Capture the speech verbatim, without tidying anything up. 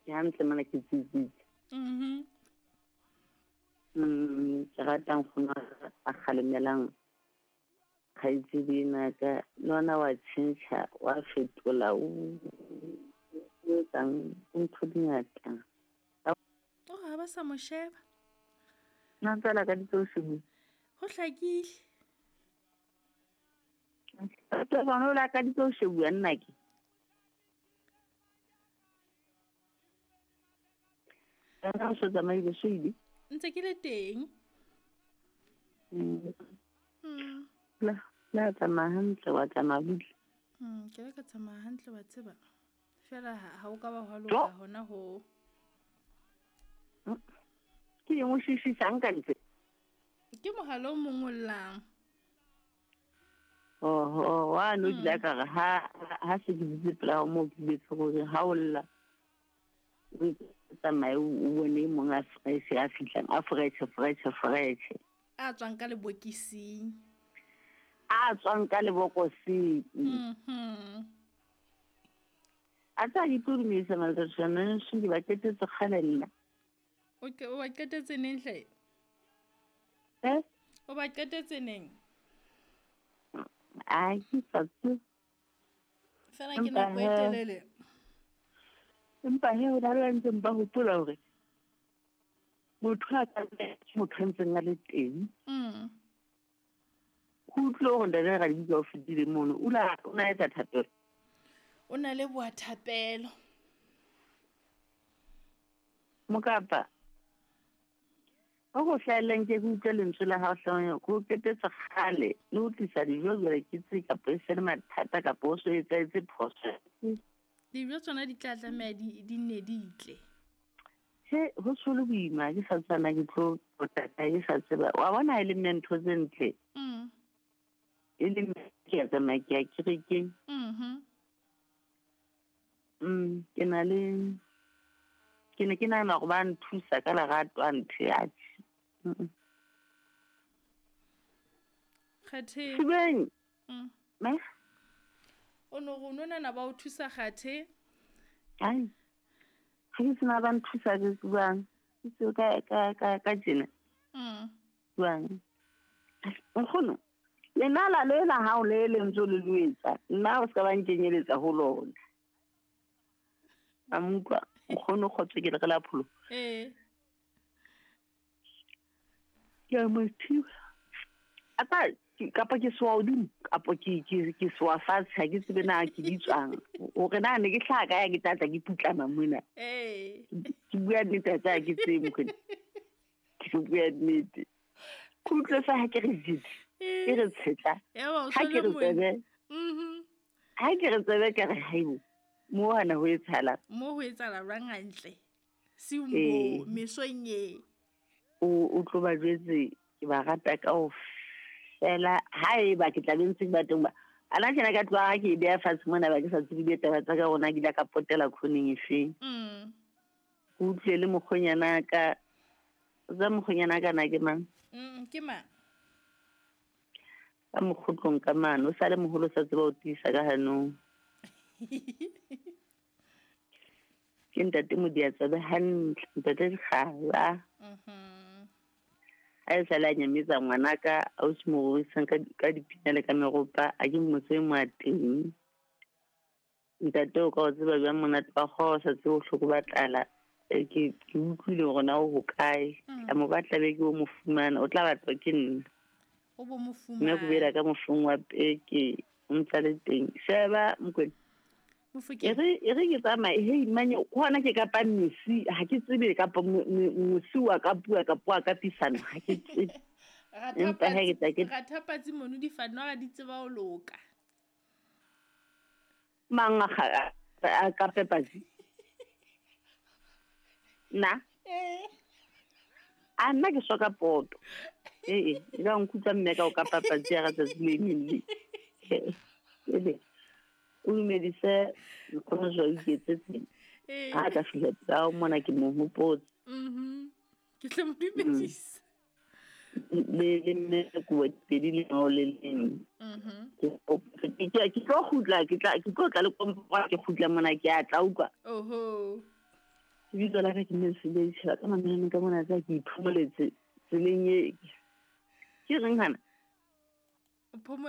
Ke hantle mona ke tsitsitse. Mhm. Mm, ke rata nkgono a kgalemelang kgaitsedi ena ka le ona wa tjhentjha wa fetola o o etsang ntho di ngata. O ha ba sa mo sheba. Nna ntse la ka ditso se. Ho hlakile. Batho ba no la ka ditso se bua nna ke. Nna o so tsamaile so ile. Ntse ke le teng. Mm. Mm. La la tsamaya hantle wa tsamaya butle. Mm, ke le ka tsamaya hantle wa tseba. Fela ha o ka ba hwa loka hona ho. Ke eng o shishisang ka ntle? Ke mohalo o mong o llang. Oh, wa no dila ka re ha ha se ke ditse pela mo ke betse gore ha o lla. O tsamaye o bone mong a fresh a fihlang a fresh fresh fresh. A tswang ka lebokising. A tswang ka lebokosing. Mhm. A tsa di turumisa maltsana se di ba ketetse kgale nna. O ke o ba qetetse neng hle? Eh? O ba qetetse neng? Ai, ke sa tsebe. Fela ke nako e telele. Empa he o na le ntse ba hopola hore motho a ka motho a ntseng a le teng. Mm. Ho utlwe hore ntate Raditsa o fetile mono, o la o na etsa thapelo. O na le boa thapelo. Mokapa. O go hlaeleng ke utlwe lentswe la hao hlong go ketetse kgale le o tlisa dijo jwale ke tse kapa e se le mathata kapa o so etsaetse phoso. Dijo tsona di tla tlameha di di nne di tle. He ho tsholo boima ke sa tsana ke tlo potata ke sa tseba. Wa bona e le mme ntho tse ntle. Mm. E le mme ke a tsamaya ke ya kerekeng. Mhm. Mm, ke na le ke ne ke nahana hore ba nthusa ka lerato a ntho ya tjhe. Mm. Kgathe. Sibeng. Mm. Me? O no go nona ba o thusa kgathe? Ai. Ha ke sena ba nthusa ke buang. Ke se ka ka ka ka tjena. Mm. Buang. Nkgono. Lenala le la hao le le ntse le loetsa. Nna o ska ba nkenyeletsa ho lona. A mukwa nkgono kgotso ke le re la pholo. Eh. Ke a mo thiba. Ata kapa ke soa hodimo kapa ke ke ke soa fatshe ha ke tsebe na ke ditswang. Hore na ne ke hlaha ka ya ke tlatla ke putlama mona. Eh. Ke bua nnete tsa ke tsebe mkhone. Ke bua nnete. Kutlwe sa ha ke re jitse. Ke re tshetla. Ha ke re tsebe. Mhm. Ha ke re tsebe ke re haibo. Mo hana ho etsahala. Mo ho etsahala rang hantle. Si mo mesong e. O o tlo ba jwetse ke ba rata kaofela ha eba ke tla be ntse ke ba teng ba. Ana tjena ka tloha ke beha fatshe mona ba ke sa tsebe ditaba tsa ka rona ke la ka potela khoneng efeng. Mm. O utlwe le mokgonyana ka tsa mokgonyana ka na ke mang? Mm, ke mang? Ka mokgotlong ka mane o sale moholo sa tseba ho tiisa ka hanong. Ke ntate Modiatsabe hantle, ntate Dikgala. Mhm. Ha e sale a nyametsa ngwanaka a o se mo rorisang ka ka dipina le ka meropa a ke motse mo a teng. Ntate o ka o tseba jwang monate wa kgoho sa tsebe bohloko ba tlala. Ke ke utlwile hore na o hokae. Tla mo batla be ke o mo fumana, o tla batlwa ke nna. O bo mo fumana. Mme ke boela ka mofung wa peke o ntsa le teng. Sheba Mokwena. Mofokeng. E re e re ke tsamaye hei manye hona ke kapa mesi ha ke tsebe kapa mosi wa ka bua ka bua ka pisana ha ke tsebe. Empa ha ke tla ke Rathapatsi mono di fanwa di tseba ho loka. Mang a a ka pepatsi. Nna? Eh. A nna ke soka poto. Eh eh, e ka nkutlwa mme ka o ka papatsi ya tsatsi le leng le. Ebe o dumedise nkgono jwa iketsetse. Eh. Ha ka fihla tsa o mona ke mo hopotse. Mhm. Ke tla mo dumedisa. Le le mme ko pedi le no le leng. Mhm. Ke ke ke tlo kgutla ke tla ke tlo tla le kompora ke kgutla mona ke a tla utlwa. Oho. Lebitso la ka ke Mesebetsi ka mamello ka mona tsa ke iphomoletse tseleng e. Ke reng hana? O phomola.